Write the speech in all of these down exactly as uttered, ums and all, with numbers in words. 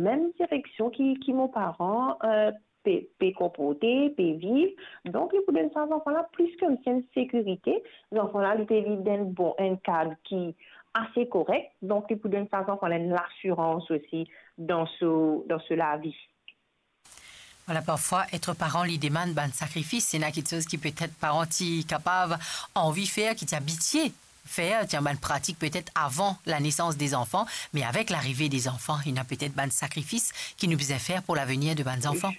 Mem direksion ki, ki mo paran, eh, pe, pe konporte, pe viv. Donk, li pou donn sa zanfan la plis koumsi enn sekirite. Zanfan la, li pe viv dan enn bon, enn kad ki ase korek. Donk, li pou donn sa zanfan la enn lasirans osi dan so, dan so lavi. Vwala, parfwa, et paran, li demann bann sakrifis. Ena kiksoz ki petet paran ti kapav anvi fer, ki ti abitie fer, ti ena bann pratik petet avan lanesans de zanfan, me avek larive de zanfan, ena petet bann sakrifis ki nou bizin fer pou lavenir de bann zanfan.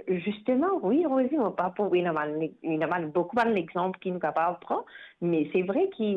Zisteman, wi, erezman, pa pou, ena bann, ena bann, boukou bann lexanp ki nou kapav pran, me se vre ki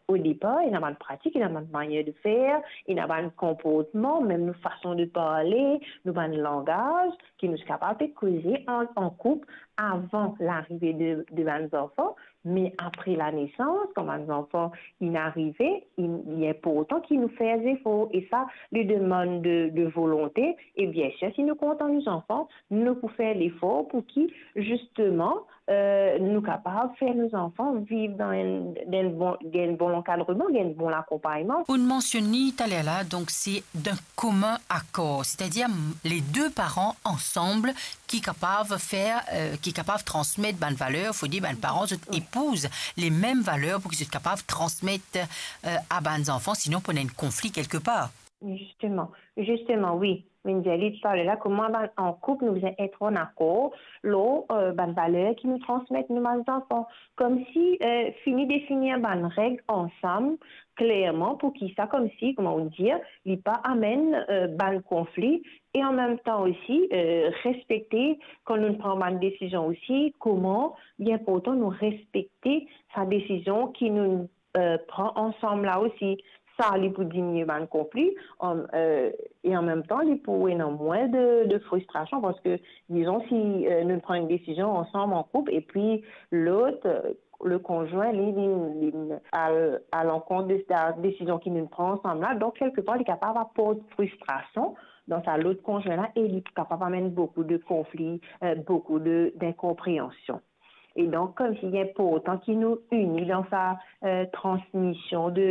o depar, ena bann pratik, ena bann manier de fer, ena bann konportman, mem nou fason de parle, nou bann langaz, ki nou ti kapav pe koze an, an koup avan larive de, de bann zanfan, me apre lanesans, kan bann zanfan inn arive, inn, li inportan ki nou fer zefor, e sa, li demann de, de volonte, e biensir, si nou kontan nou zanfan, nou pou fer lefor pou ki, zisteman, eh, nou kapav fer nou zanfan viv dan enn, dan enn bon, dan enn bon lankadreman, dan enn bon lakonpagnman. Ou'nn mansionn li taler la, donk se d'un commun accord, setadir, m-, le de paran ansam ki kapav fer, eh, ki kapav transmet bann valer, fode bann paran, zot epouz le mem valer pou ki zot kapav transmet, eh, a bann zanfan, sinon pou ena enn konfli kelkepar. Zisteman, zisteman, wi. Mo dir li taler la, kouma bann, an koup, nou bizin et an akor lor, eh, bann valer ki nou transmet nou bann zanfan. Koumsi, eh, fini definir bann reg ansam klerman, pou ki sa, koumsi, kouma ou dir, li pa amenn, eh, bann konfli, e an mem tan osi, eh, respekte, kan nou pran bann desizion osi, kouma li inportan nou respekte sa desizion ki nou eh, pran ansam la osi, sa li pou dimini bann konfli, an, eh, e an mem tan, li pou ena mwin de, de fristrasion, parski, dizon, si, eh, nou pran enn desizion ansam an koup, epi lot, eh, le konzwin, li, li, li al, al ankont de sa desizion ki nou pran ansam la, donk, kelkepar, li kapav aport fristrasion dan sa lot konzwin la, e li kapav amenn boukou de konfli, eh, boukou de, dinkonpreansion. E donk, koumsi li inportan ki nou ini dan sa, eh, transmision de,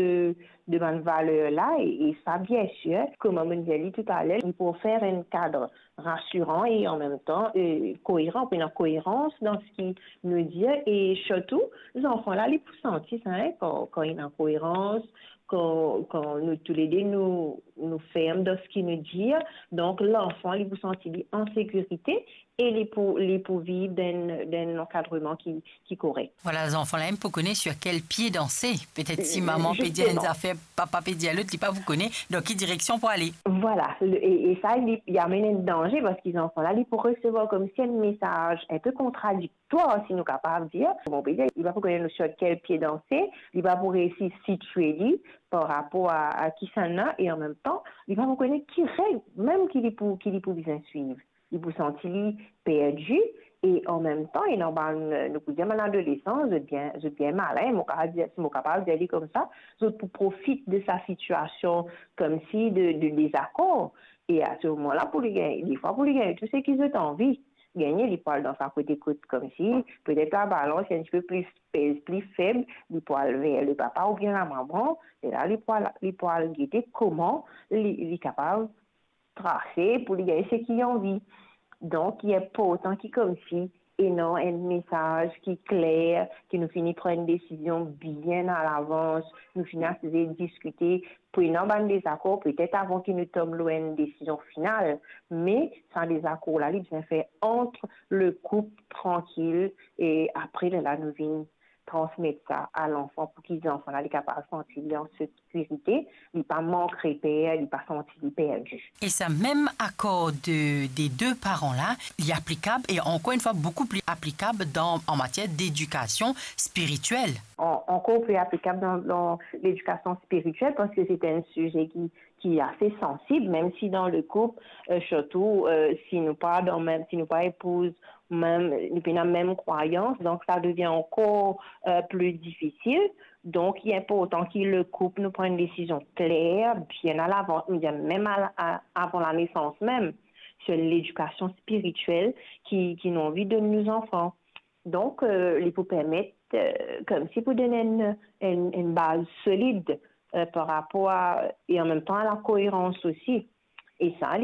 de bann valer la, e, e sa, biensir, kouma mo dir li toutaler, li pou ofer enn kad rasiran e an mem tan, eh, koeran, pou ena koerans dan seki nou dir, e sirtou, zanfan la, li pou santi sa, hein, kan, kan ena koerans, kan, kan nou toulede nou, nou ferm dan seki nou dir, donk lanfan, li pou santi li an sekirite, e li pou, li pou viv dan, dan enn lankadreman ki, ki korek. Vwala, zanfan la mem pou kone sur kel pie danse. Petet si mama pe dir enn zafer, papa pe dir lot, li pa pou kone dan ki direksion pou ale. Vwala, le, e, e sa, li, li amenn enn danze, parski zanfan la, li pou resevwar koumsi enn mesaz inpe kontradiktwar, si nou kapav dir. Kouma pe dir, li pa pou kone sur kel pie danse, li pa pou resi sitie li par rapor a, a kisannla, e an mem tan, li pa pou kone ki reg mem ki li pou, ki li pou bizin swiv. Li pou santi li perdi, e an mem tan, ena bann, nou pou dir bann adolesan, zot bien, zot bien malin, mo kapav dir, si mo kapav dir li koumsa, zot pou profit de sa sitiasion koumsi de, de dezakor. E a se moman la, pou li gagn, defwa pou li gagn tou seki zot anvi. Gagn, li pou al dan sa kote kot koumsi, petet labalans enn tipe pli, pez pli feb, li pou al ver le papa oubien lamama, e la, li pou al, li pou al gete kouma li, li kapav trase pou li gagn seki li anvi. Donk, li inportan ki koumsi ena enn mesaz ki kler, ki nou fini pran enn desizion bien alavans, nou fini asize diskite, pou ena bann dezakor, petet avan ki nou tom lor enn desizion final, me sa dezakor la, li bizin fer ant le koup trankil, e apre, lerla nou vinn transmet sa a lanfan pou ki zanfan la, li kapav santi li an sekirite, li pa mank reper, li pa santi li perdi. E sa mem akor de, de de paran la, li aplikab, e ankor enn fwa, boukou pli aplikab dan, an matier dedikasion spiritiel. An-, ankor pli aplikab dan, dan ledikasion spiritiel, parski se enn size ki, ki ase sansib, mem si dan le koup, eh, sirtou, eh, si nou pa dan mem, si nou pa epouz mem, nou pena mem krwayans, donk sa devien ankor, eh, pli difisil. Donk, li inportan ki le koup nou pran enn desizion kler, bien alavans, nou dir mem a, a, avan lanesans mem, sur ledikasion spiritiel ki, ki nou anvi donn nou zanfan. Donk, eh, li pou permet, eh, koumsi pou donn enn, enn, enn baz solid, eh, par rapor a, e an mem tan a lakoerans osi. E sa,